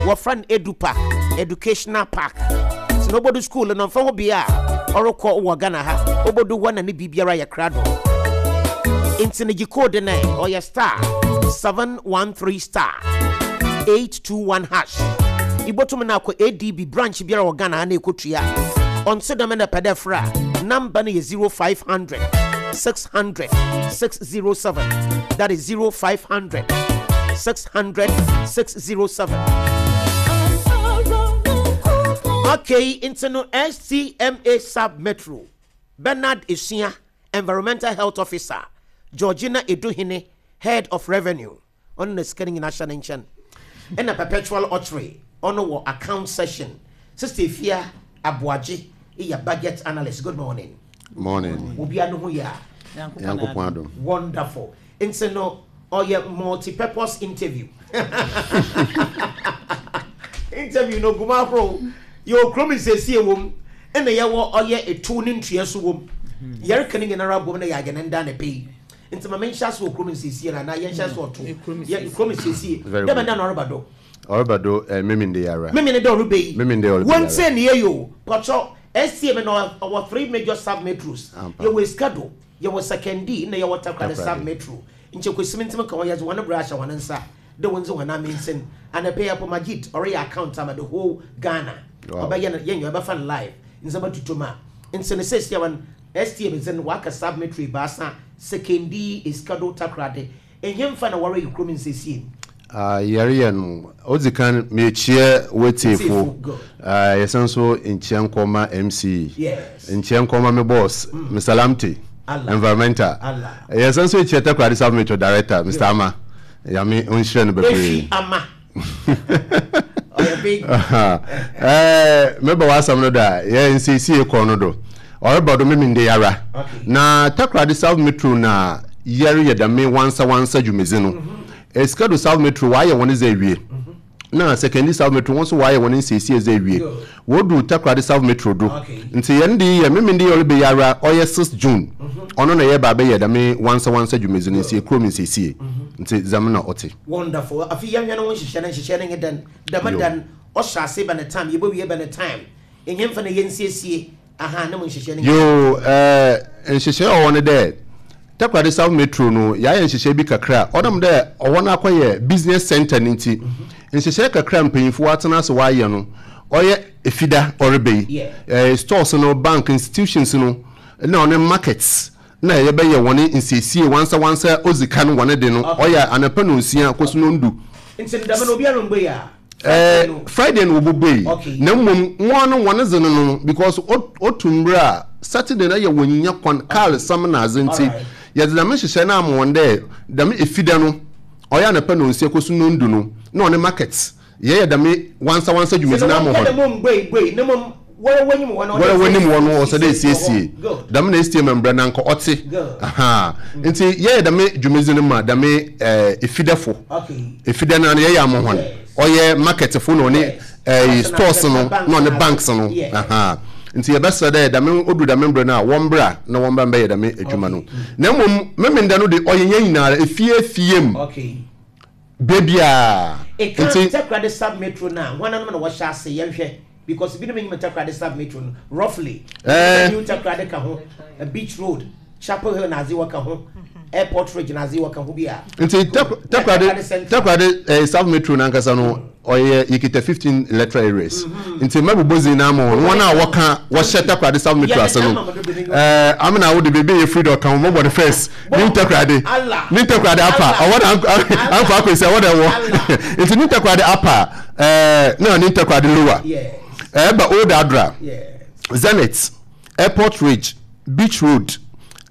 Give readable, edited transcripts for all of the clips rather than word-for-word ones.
Wɔfrɛ no Edu Park, Educational Park. Nti na obodu school no, ɔmmfa ho bea a ɔrokɔ wɔ Ghana ha, obodu hɔ na ne biribiara yɛ krado. Nti no gye code no ɛ, ɔyɛ star 713 star 821 hash. Ibotum na akɔ ADB branch biara wɔ Ghana ha na ekotua. Ɔnntse dɛm na epɛ dɛ efrɛ a, number no yɛ 0500 600 607. That is 0500 600 607. Okay, nti no STMA Sub Metro, Bernard Esua, Environmental Health Officer, Georgina Eduhene, Head of Revenue, ɔno na sika no nyinaa hyɛ ne nkyɛn. Ɛna Perpetual Okyere, ɔno wɔ Account Session. Sister Efia Aboagye yɛ Budget Analyst. Good morning. Morning. Obiara no ho yɛ a? Nyankopɔn adom. Wonderful. Nti no ɔyɛ multi-purpose interview. Interview no gu mu ahorow. Yɛwɔ kurom nsiesie wɔ mu, ɛna yɛwɔ ɔyɛ etuw ne ntua so wɔ mu. Yɛreka ne nyinara abom na yɛayɛ ne nda anapa yi. Nti ma menhyɛ ase wɔ kurom nsiesie no anaa yɛnhyɛ ase wɔ to. Yɛ kurom nsiesie. Very Dɛ good. bɛn da na ɔreba do? Ɔreba do eh, Memende yi ara. Memene dɛ ɔreba yi. Memende ɔreba yi ara. Wɔntsie ne yie o. Pɔtɔ, STM no ɔwɔ three major sub-metros. Ampa. Yɛwɔ Essikado, Yɛwɔ Sekondi na yɛwɔ Takoradi Takoradi. Sub Metro. Nkyɛ Kwesi Mentsim ka ho, yɛdze hɔn bra ahyɛ hɔn nsa dɛ wondzi hɔn amansin. Anapa yi Apo Majid ɔreyɛ account ama the whole Ghana. Wow. Ɔbɛyɛ no, yɛnyɛ ɔbɛfa no live, ndzɛmba totɔ mu a. Ntsi no seseiara no, STA dze no wɔaka Sub Metro ebiasa, Sekondi, Esikado, Takoradi. Henfa na wɔreyɛ kurom nsiesie no? Ah, yɛreyɛ no, odzi kan meekyia w'etsiefo, Good. ah, yɛsan so nkyia nkɔ ma MC, Yes. nkyia nkɔ ma me boss, Mr. Lamptey, Allah. Environmental. Allah. Yɛsan so ekyia Takoradi South Metro Director, Mr. Ama, Nyame onhyira no Efi bebree. ama. Ɔyɛ big. Eh, meba w'asɛm no do a, yɛ nsiesie kɔ no do. Ɔreba do Memende ara. Okay. Na Takoradi South Metro na yɛreyɛ dɛm wansa wansa dwumadzi no. Essikado South Metro wɔayɛ hɔn dze ewie. Na Sekondi South Metro hɔn so wɔayɛ hɔn nsiesie dze ewie. Wodu Takoradi South Metro do. Ntsi hɛn de yi yɛ Memende yi ɔreba yi ara, ɔyɛ 6 June. Ɔno na yɛreba abɛyɛ dɛm wansa wansa dwumadzi no, ntsi kurom nsiesie. Ntsi dzɛm na ɔtse. Wonderful. Afei yɛnhwɛ no ho nhyehyɛ no, nhyehyɛ no nye dɛn? Dɛm Yo. da no, ɔhyɛ ase bɛn time, yebowie bɛn time, nyimfa na yensiesie, aha, no mu nhyehyɛ no nye dɛn? Yoo, eh, nhyehyɛɛ a ɔwɔ hɔ ne dɛ, Takoradi South Metro no, yɛayɛ nhyehyɛɛ bi kakra a, ɔnam dɛ ɔhɔ no akɔyɛ business centre no ntsi, nhyehyɛɛ kakra a mpanyimfo wɔatsena ase wɔayɛ no, ɔyɛ Efida ɔreba yi, eh, stores no, bank, institutions no, nna ɔne markets na yɛbɛyɛ hɔn nsiesie wansawansa odzi kan hɔn de no, ɔyɛ anapa nonsia kosi nondu. Ntsi no dɛm no obiara rommbue a? Friday no? Friday no wobobue, na mbom hɔn no hɔn dze no no because otu mber a Saturday no yɛ wonnya kwan, kaar sam na adze ntsi, yɛdze dɛm nhyehyɛɛ no ama hɔn dɛ dɛm Efida no ɔyɛ anapa nonsia kosi nondu no na ɔne market Yɛyɛ dɛm wansawansa dwumadzi no ama hɔn. Woara w'enyim hɔ no, ɔsɛ dɛ esiesie. Dɛm na STM mbrɛ no anka ɔtse. Ahaa. Ntsi yɛyɛ dɛm dwumadzi no ma dɛm efidɛfo. Efidɛ no ara no yɛyɛ ama hɔn. Ɔyɛ marketfo na ɔne stores no na ɔne banks no. Ahaa. Ntsi yɛbɛserɛ dɛ dɛm odur dɛm mber no a wɔmbra na wɔmbra mbɛyɛ dɛm edwuma no. Na mbom Memenda no de ɔyɛ hɛn nyinara, efie efie mu. Baabiara. Eka Nti. Takoradi sub metro no a hwananom na wɔhyɛ ase yɛnhwɛ because binom nyim Takoradi sub metro no roughly Eh. New Takoradi ka ho Beach road Chapel Hill na adze wɔka ho Airport Ridge na adze wɔka ho bi a. Nti Takoradi Takoradi eh, sub metro no ankasa no ɔyɛ yɛkita 15 electoral areas nti mɛbobɔ dzin no ama wɔn wɔn a wɔka wɔhyɛ Takoradi sub metro ase no eh, amena wo de baabi a yɛfiri de ɔka ho mɔbɔ no first New Takoradi, New Takoradi apa, ɔwɔ na ankɔ akɔsi ɛwɔ na ɛwɔ. Nti New Takoradi apa ɛɛ na New Takoradi lower. Ɛɛba Old Adra, Zenith, Airport Ridge, Beach Road,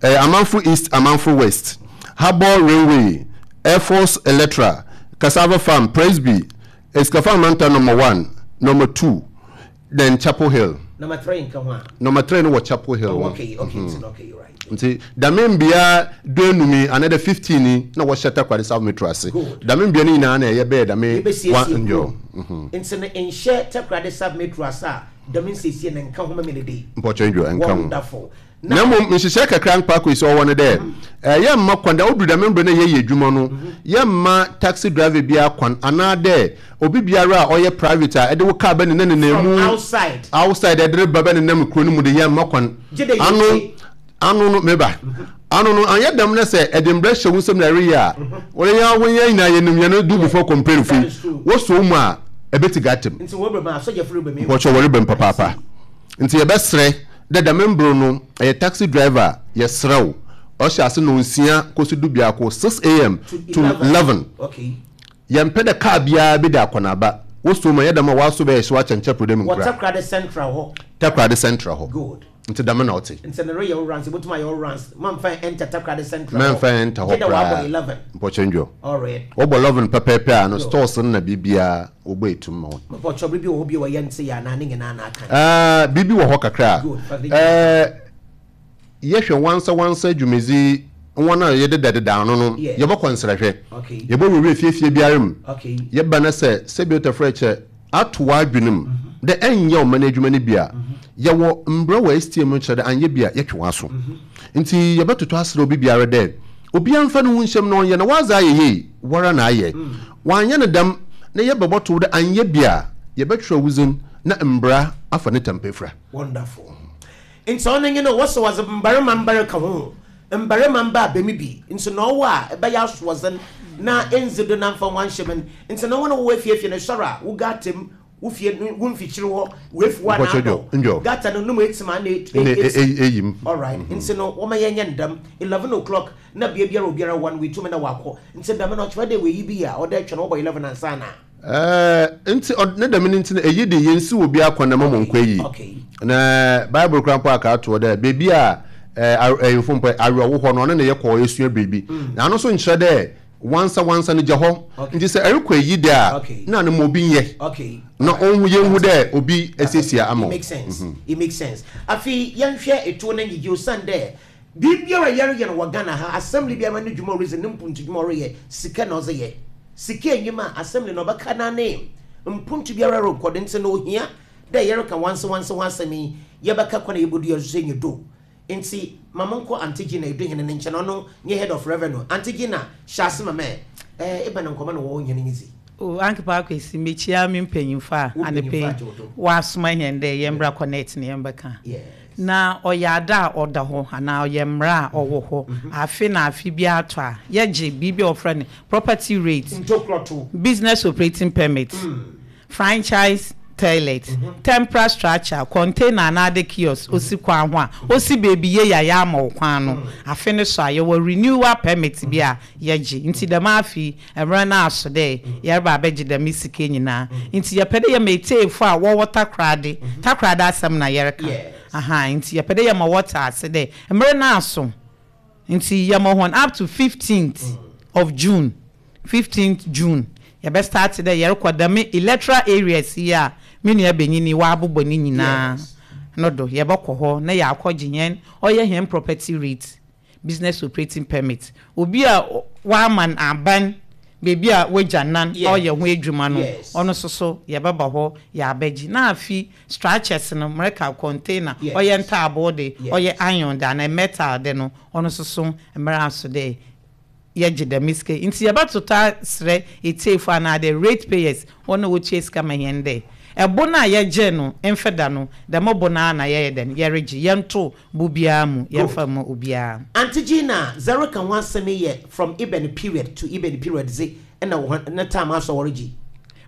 ɛɛ Amanfo East, Amanfo West, Harbour Railway, Air Force Electoral, Cassava Farm, Presby, Esikafa Amanta number 1, number 2. Then Chapel Hill. Number 3 nka ho a. Number 3 no wɔ Chapel Hill. Oh, okay, okay, mm -hmm. okay, right. Nti dɛm mbea duenum yi anaa dɛ 15 yi na wɔhyɛ Takoradi South Metro ase. Dɛm mbea no nyinaa na ɛyɛ bɛyɛ dɛm one nyo. Nti no nhyɛ Takoradi South Metro ase a. Dɛm nsiesie no nka ho ma me dei. Mpɔkyɛ ndwo, nka ho. Wonderful. Na mbom nhyehyɛɛ kakra mpa kɔ yi sɛ ɔwɔ no dɛ, yɛmma kwan dɛ odur dɛm mber no a yɛyɛ edwuma no, yɛmma taxi driver biara kwan anaadɛ obi biara a ɔyɛ private a ɛde wo car bɛnenanenam From mu outside. outside ɛde reba bɛnenam kuro no mu de yɛmma kwan. Gye dɛ Ano yɛtie. ano no meba. Ano no annyɛ dɛm na sɛ ɛde mbrɛ hyɛ wo nsam na ɛreyɛ a, wɔde yɛn ho yɛn nyinaa yɛnim yɛn do before complain That fo yi, is true. wosɔ wo mu a ɛbɛti gatem. Nti wɔreba mu a, asɔgyafo reba mu. Mpɔkyɛ wɔreba mu I papaapa. see. Nti yɛbɛsrɛ dɛ dɛm mber no ɛyɛ taxi driver a yɛserɛ wo ɔhyɛ ase nɔnsia kosi dubiako, 6 am To to 11. 11. Okay. Yɛmmpɛ dɛ kaar biara bedi akɔnaaba. Wosuo mu a, nnyɛ dɛm a wɔaso bɛyɛ hyew akyɛn Kyɛpro dɛ mu Wɔ nkura. Takoradi Central hɔ. Takoradi Central hɔ. Good. Ntsi dɛm na ɔtse. Ntsi no reyɛ wo runs, ibotum ayɛ wo runs. Mammfa enter Takoradi Central hɔ. Mɛmmfa enter hɔ Gye dɛ wɔabɔ koraa. 11. Mpɔkyɛ ndwo. Alright. Wɔbɔ 11 pɛpɛɛpɛ a no Good. stores no na biribiara wɔbɔ etum ma hɔn. Mepɔkyɛw biribi wɔ hɔ bio a yɛnntse yɛ anaa ne nyinaa na aka? Aah biribi wɔ hɔ kakra a. Good, fa ne nyinaa ka ho. Eh, yɛhwɛ wansawansa dwumadzi hɔn a yɛdedadeda ano no, Yes. yɛbɔkɔ nserahwɛ. Okay. Yɛbɔwurawura efiefie biara mu. Okay. Yɛba na sɛ sɛbi otafrɛkyɛ ato w'adwen mu dɛ ɛnnyɛ ɔman edwuma no bi a, yɛwɔ mbra wɔ STM mu kyerɛ dɛ annyɛ bi a yɛtwe w'aso. Ntsi yɛbɛtoto aserɛ obi biara dɛ obiara mfa no ho nhyɛ mu na ɔnyɛ na ɔadze ayɛ yie woara na ayɛ. Wɔannyɛ no dɛm na yɛbɛbɔto wo dɛ annyɛ bi a, yɛbɛtwerɛ wo dzin na mbra afa ne tampa efura. Wonderful. Ntsi ɔno nye no, wɔse wɔdze mbarimba mba reka ho, mbarimba mba abɛmu bi, ntsi na ɔwo a ebɛyɛ asoɔdzen na enndzi do na mmfa ho annhyɛ mu no, ntsi na hɔn a wɔwɔ efiefie no, esoɛr a, wo gutter mu, wo fie no, wo mfikyir hɔ, w'efuw anaa Mpɔkyɛ adɔw, ndwo. gutter no no mu etsim ana Nna etsim. eyi mu. Alright, ntsi no wɔma yɛnyɛ no dɛm, 11 o'clock na bea biara obiara wɔ no oetum na ɔakɔ, ntsi dɛm no ɔkyerɛ dɛ woeyi bi a ɔwɔ dɛ etwɛn wɔbɔ 11 ansaana. Ɛɛ, nti, ɔ, ne dɛm no nti no, eyi de, yensiw obiara kwan na mma Okay, monkɔ eyi. okay. Na Bible koraa mpo aka ato hɔ dɛ, beebi a ɛɛ, aw, ɛyefo mpo, awerɛhow hɔ no, ɔno na yɛkɔ esua biribi. Na ano nso nkyerɛ dɛ wansa wansa no gya hɔ. Okay. Nti sɛ ɛrekɔ eyi de a, Okay. na no ma obi nyɛ. Okay. Na Alright. onhu, yenhu That's dɛ it. obi That's it. esiesie It ama wo. makes sense. It makes sense. Afei, yɛnhwɛ etuo no ngyegye osiandɛ biribiara a yɛreyɛ no wɔ Ghana ha, assembly biara no dwuma a oridzi, no mpontu dwuma a ɔreyɛ, sika na ɔdze yɛ. Sika enyim a, assembly no ɔbɛka n'anee. Mpontu biara rokɔ do ntsi no ohia dɛ yɛreka wansewanse ho asɛm yi, yɛbɛka kwan a yebodua so enyi do. Ntsi ma monkɔ Aunty Gina Eduhene ne nkyɛn, ɔno nye Head of Revenue. Aunty Gina, hyɛ ase ma me ɛ, ebɛn nkɔmbɔ na wɔwɔ hɛn nye dzi? O Ankepa Akwesi, mekyia me mpanyimfo a Wo anapa mpanyimfo yi agye wo do. wɔasoma hɛn dɛ yɛmbra connect na yɛmbɛka. Yes. Na ɔyɛ ade a ɔda hɔ anaa ɔyɛ mmara a ɔwɔ hɔ. Afe na afe biara tɔ a, yɛgye biribi a wɔfrɛ no property rate, Ntokorɔto. business operating permit, franchise toilet, temporary structure, container anaadɛ kiosk osi kwan ho a, osi beebi yie a yɛama wo kwan no, afe no so a, yɛwɔ renewal permit bi a yɛgye. Ntsi dɛm afe yi, mber no aso dɛ yɛreba abɛgye dɛm sika yi nyina. Ntsi yɛpɛ dɛ yɛma etsiefo a wɔwɔ Takoradi, Takoradi asɛm na yɛreka, ahaa, ntsi yɛpɛ dɛ yɛma wɔtse ase dɛ mber no aso, ntsi yɛma hɔn up to fifteenth of June, fifteenth June, yɛbɛ start dɛ yɛrokɔ dɛm electoral areas yi a me nua banyin yi ɔabobɔ ne nyina no do, yɛbɔkɔ hɔ na yɛakɔgye hɛn, ɔyɛ hɛn property rate. Business operating permit, obi a wɔama no aban beebi a w'egya nan ɔyɛ ho edwuma no, ɔno so so yɛbɛba hɔ yɛabɛgye. Na afi structures no, mereka container, ɔyɛ ntaaboo de, ɔyɛ iron de anaa metal de no, ɔno so so mber aso dɛ yɛgye dɛm sika yi. Ntsi yɛbɛtotɔ aserɛ etsiefo anaadɛ rate payers, hɔn a wotua sika ma hɛn dɛ, bo no a yɛgyee no mfeda no, dɛm bo no ara na yɛyɛ dɛn, yɛregye. Yɛnntow bo biara mu, Good. yɛmmfa mma obiara. Aunty Gina, dza ereka ho asɛm yi yɛ from ebɛn period to ebɛn period dze na hɔn ne time aso a wɔregye?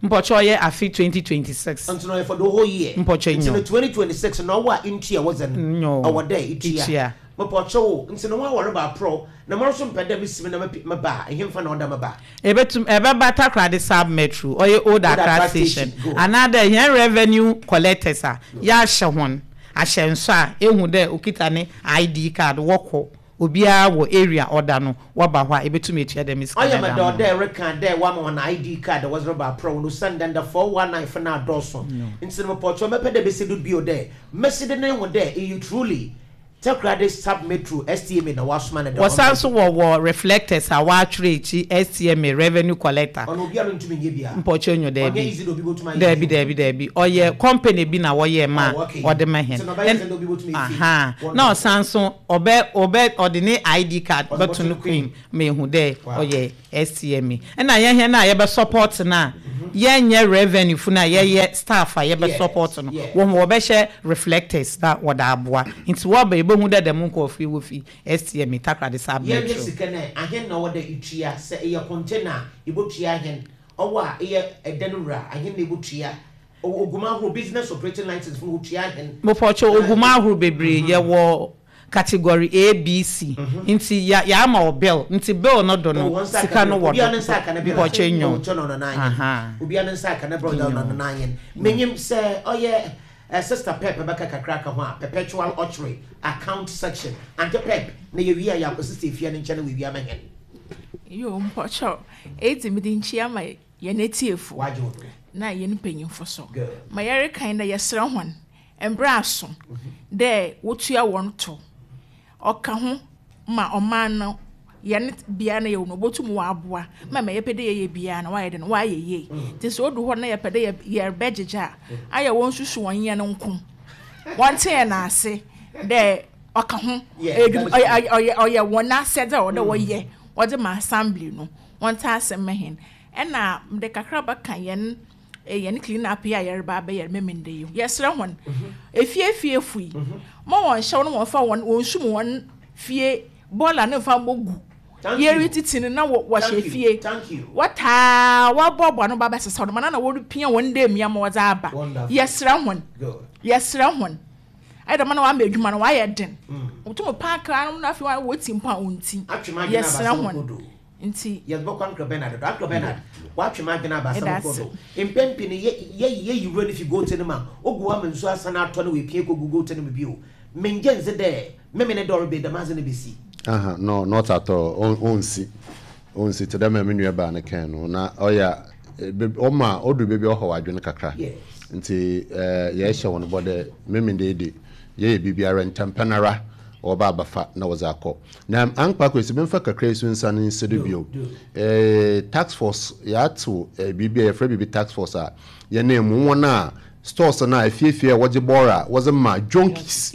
Mpɔkyɛ ɔyɛ afe 2026. Ntsi no ɔyɛ for the whole year. Mpɔkyɛ Ntsi no nyew. 2026 no ɔwo a inntua wo dze no, Nyew, ɔwɔ dɛ itua. itua. Mepɔkyɛw o, ntsi no hɔn a wɔreba aprɔw na mara so mepɛ dɛ misi mu na meba a, henfa na ɔda meba? Ebetum, ɛbɛba Takoradi Sub Metro, ɔyɛ Old Old Accra Accra Station, Station, good. anaadɛ hɛn revenue collectors a yɛahyɛ hɔn ahyɛnso a ehu dɛ okitsa ne ID card, wɔkɔ obiara wɔ area a ɔda no, wɔba hɔ a ebetum etua dɛm sika no Ɔyɛ me dze ama dɛw hɔn. dɛ ereka dɛ wɔama hɔn ID card a wɔdze reba aprɔw no osiandɛ ndɛ 419 fo no adɔɔ sõ. Ntsi no mepɔkyɛw mɛpɛ dɛ besi do bio dɛ mesi do na ehu dɛ iyi truly. Takoradi Sub Metro STMA na wɔasoma no dɛ Wɔsan ɔmbɛgye. so wɔwɔ reflectors a wɔatwerɛ akyi STMA Revenue Collector. Ɔno obiara nntum nnyɛ bi a? Mpɔkyɛ nyo Ɔnnyɛ daabi. easy dɛ obi botum ayɛ bi Daabi o. daabi daabi. Ɔyɛ company bi na wɔyɛɛ ma Oh okay. wɔde ma hɛn. Ntsi na ɔbɛyɛ Ɛn dzen dɛ obi botum efi. ahaa. Na Wonderful. ɔsan so ɔbɛ ɔbɛ ɔde ne ID card Ɔdze bɛto bɔto no no kɔn kɔn mu ma ehu dɛ Wow. ɔyɛ STMA. Ɛna yɛn hɛn a yɛbɛ support no a, yɛnyɛ revenue fo no a yɛyɛ staff a yɛbɛ support no, wɔn wɔbɛhyɛ reflectors na wɔde aboa. Nti wɔba yɛbɛhu dɛ dɛm nkorɔfo yi wofi STMA Takoradi Sub Yɛnhwɛ Metro. sika no ɛ, ahen na ɔwɔ dɛ itua? Sɛ eyɛ container a, ibotua ahen? Ɔwo a eyɛ ɛdan wura, ahen na ibotua? Ɔwɔ ogumu ahorow, business operating license fo no wotua ahen? Mopɔkyɛw, ogumu ahorow bebree, yɛwɔ category A, B, C, nti ya yɛama wo bill, nti bill no do Oh, no, wɔn nsa aka sika bill. no wɔ Obiara do, ne nsa aka ne bill a. mpɔkyɛw Oh, nyo. nkyɛ no ɔno n'anyen. Ahaa. Obiara ne nsa aka ne bill, ɔno Nyo. n'anyen. Menyim sɛ ɔyɛ eh, Sister Pep bɛka kakra aka ho a, Perpetual Ɔkyere, Account Section. Auntie Pep, na yɛwie a yɛakɔ Sister Efia ne nkyɛn na oewie ama hɛn. Yoo mpɔkyɛw, edzi mede nkyia ma hɛn etsiefo Wɔagye wo do. na hɛn mpanyimfo so. Good. Ma yɛreka nye dɛ yɛserɛ hɔn, mber aso dɛ wotua hɔn tow. Ɔka ho ma ɔman no hɛn bea no yɛwɔ no obotum ɔaboa ma ma yɛpɛ dɛ yɛyɛ biara no ɔayɛ dɛn ɔayɛ yie. Ntsi sɛ odu hɔ na yɛpɛ dɛ yɛrebɛgyegye a, ayɛ wɔnsusu hɔn hɛn nko. Wɔntse hɛn ase dɛ ɔka ho. Ɔyɛ ɔyɛ ɔyɛ hɔn asɛdze a ɔwɔ dɛ wɔyɛ wɔdze ma assembly no. Wɔntse ase mma hɛn. Ɛna medze kakra bɛka hɛn hɛn clean up yi a yɛreba abɛyɛ no Memenda yi ho. Yɛserɛ hɔn, efiefiefo yi, ma wɔnhyɛ no wɔmfa hɔn wonsum hɔn fie bɔɔla no mfa mbogu yeritsitsi no na wɔhyɛ fie. Wɔtaa wɔboaboa ano ba abɛsesaw no ma na na woripia hɔn ndamia ma wɔdze aba. Yɛserɛ hɔn, yɛserɛ hɔn. Ayɛ dɛm na wɔama edwuma no wɔayɛ den. Wotum paake ano na afei wotsi mpo a onntsi. Yɛserɛ hɔn. Nti. Yɛbɛkɔ Uncle Bernard do. Uncle Bernard, wɔatwe m'adwen aba Meda asɛm kor ase. do. Mpɛn pii no, yɛ yɛyi yɛyi wura no fi gote no mu a, ogu hɔ ama nsu asan atɔ na oepia ekogu gote no mu bio. Menngye nndzi dɛ Memene dɛ ɔreba yi, dɛm adze no besi. Aha, no, not at all. On, onnsi. Onnsi, tse dɛ ma me nuabaa no kãe no, na ɔyɛ a, ebe, ɔma odur beebi a ɔhaw adwen kakra. Yes. Ntsi, eh, yɛhyɛ hɔn bɔ dɛ Memene yi de, yɛyɛ biribiara ntsɛmpa noara wɔba abɛfa na wɔdze akɔ. Na Ankpa Kwesi, memfa kakra yi so nsan nsi do bio. Eh, task force, yɛatsew eh, biribi a yɛfrɛ biribi task force a, yɛnam mu, hɔn a stores no a efiefie a wɔdze bɔɔr a wɔdze ma junkies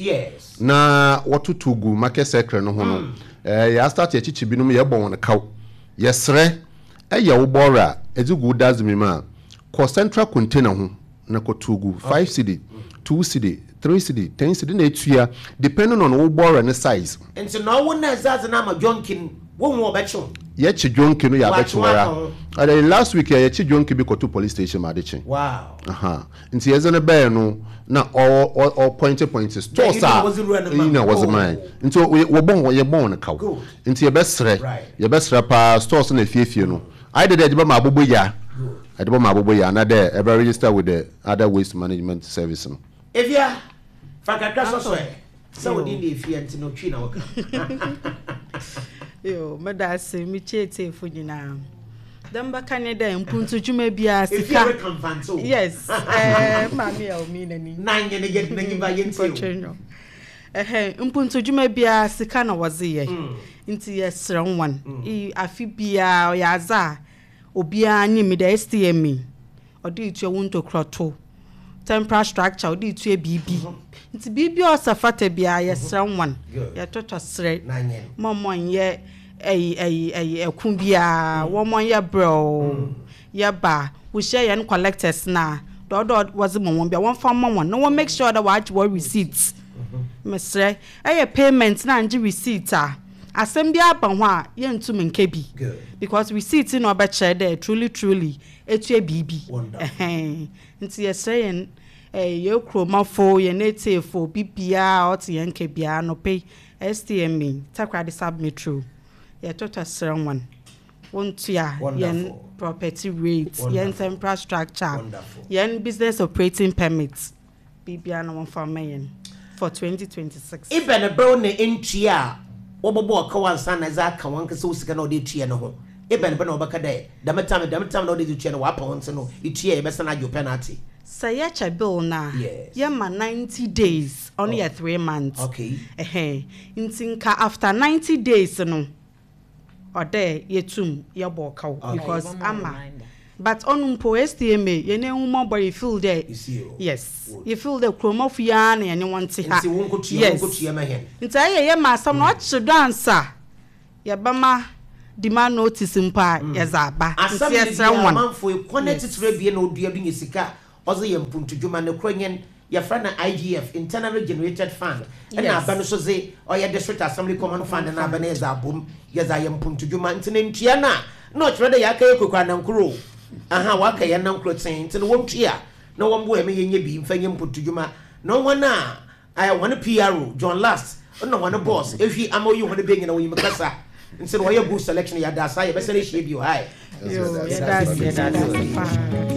na wɔtotow gu market circle no ho no, eh, yɛastart yɛkyekye binom, yɛbɔ hɔn kaw. Yɛserɛ, eyɛ wo bɔɔr a edze gu wo dustbin mu a, kɔ central container ho na kɔtow gu, 5 cedi, 2 cedi, 3 cedi, 10 cedi na etua depending on wo bɔɔra ne size. Ntsi na ɔwo na edze adze no ama Jonki no, wohu a ɔbɛkye wo. Yɛkye Jonki no yɛabɛkye Wɔakye wo wo ara. aka ho. Ɛdɛ last week yɛ yɛkye Jonki bi kɔto police station ma ade kye. Wow. Aha. Ntsi yɛdze no bɛɛ no na ɔ ɔ ɔ pointe pointe Dɛ stores iyi na a wɔdze wura no ma iyi na wo. wɔdze mae. Oh. Ntsi ɔ wɔbɔ hɔn yɛbɔ hɔn kaw. Good. Ntsi yɛbɛserɛ Right. yɛbɛserɛ paa stores na efiefie no ayɛ dɛ dɛ yɛdze bɛma aboboyaa. Good. Yɛdze bɛma aboboyaa anaa dɛ ɛbɛ register with the other waste management service no. Efia, fa kakra sɔ so Uncle. ɛ. Sɛ wo Yo. din de Efia nti no Twi na woka. Yo, meda ase mekyia atiefo nyinaa. Dɛ mbɛka nye dɛ mpuntudwuma biara Efia sika. reka mfantse o. Yes, eh, maame a omi n'ani. Na nye ne yɛ n'enyi ba yɛntie o. Mpɔtwe nyo. Ɛhɛn, mpuntudwuma biara sika na wɔdze yɛ. Nti yɛserɛ hɔn, i- afe biara ɔyɛ adze a obiara nyim dɛ STME ɔde retua wo ntokurato, temporal structure ɔde retua biribi. Nti biribi a ɔsɛ fata biara yɛsrɛ wɔn, yɛtɔtɔ serɛ ma wɔnyɛ ɛyi ɛyi ɛyi ɛko biara, wɔnyɛ brɛoo. Yɛba a, wohyia yɛn collectors no a, deɛ ɔdɔ wɔdze ma wɔn biara wɔmfa mma wɔn na wɔn make sure dɛ wɔagye wɔn receipt. Mesrɛ, ɛyɛ payment na angye receipt a, asɛm bi aba ho a yɛntum nka bi because receipt na ɔbɛkyerɛ dɛ truly truly etua biribi. Ɛhɛn. Nti yɛsrɛ yɛn eh, yɛn kuromafo, yɛn etiefo, obi biara a ɔte yɛn nka biara anɔpa yi, STMA, Takoradi Sub Metro, yɛtɔtɔ srɛ wɔn. Wontua yɛn property rate, yɛn temporal structure, yɛn business operating permit, biribiara na wɔmfa mma yɛn for 2026. Ebɛn ber na ntua a wɔbɔbɔ ɔkaw ansaana edze aka wankasa wo sika na ɔdze etua no ho? Ebɛn ber na wɔbɛka dɛ dɛm tam dɛm tam na ɔdze dze tua no wɔapa wo ntsi no itua a yɛbɛsan agye wo penalty? Sɛ yɛkyɛ bill no a, yɛma 90 days, ɔno yɛ 3 months. Ɛhɛn, nti nka after 90 days no, ɔdɛ yɛtum yɛbɔ ɔkaw because ama, but ɔno mpo STMA yɛn ehu mmɔbɔ. You feel dɛ, yes, you feel dɛ kuromafo yi ara na yɛne wɔn te ha. Yes, nti ɛyɛ yɛ ma asɛm no ɔkye do ansa yɛbɛma demand notice mpo a, yɛdze aba. Nti yɛsrɛ wɔn. Amanfo ekwan atitire ebien na odua do nya sika ɔdze yɛ mpuntudwuma ne koro nyɛn yɛfrɛ no IGF, Internally Generated Fund, ɛna aba no so dze ɔyɛ District Assembly Common Fund na aba no yɛdze abom yɛdze ayɛ mpuntudwuma. Nti ne ntua no a na ɔkyerɛ dɛ yɛaka yɛ koko anankoro o, aha waka yɛn nankoro tsen, nti no wɔntua na wɔmboa yɛn ma yɛnyɛ bi mfa nyɛ mpuntudwuma. Na hɔn a ayɛ hɔn PRO John Last na hɔn boss ehwi ama oyi hɔn bɛ nyina onyim kasa, nti no wɔyɛ good selection. Yɛda asa, yɛbɛsan ahyia bio. Hi. Yo, yɛda ase, yɛda ase paa.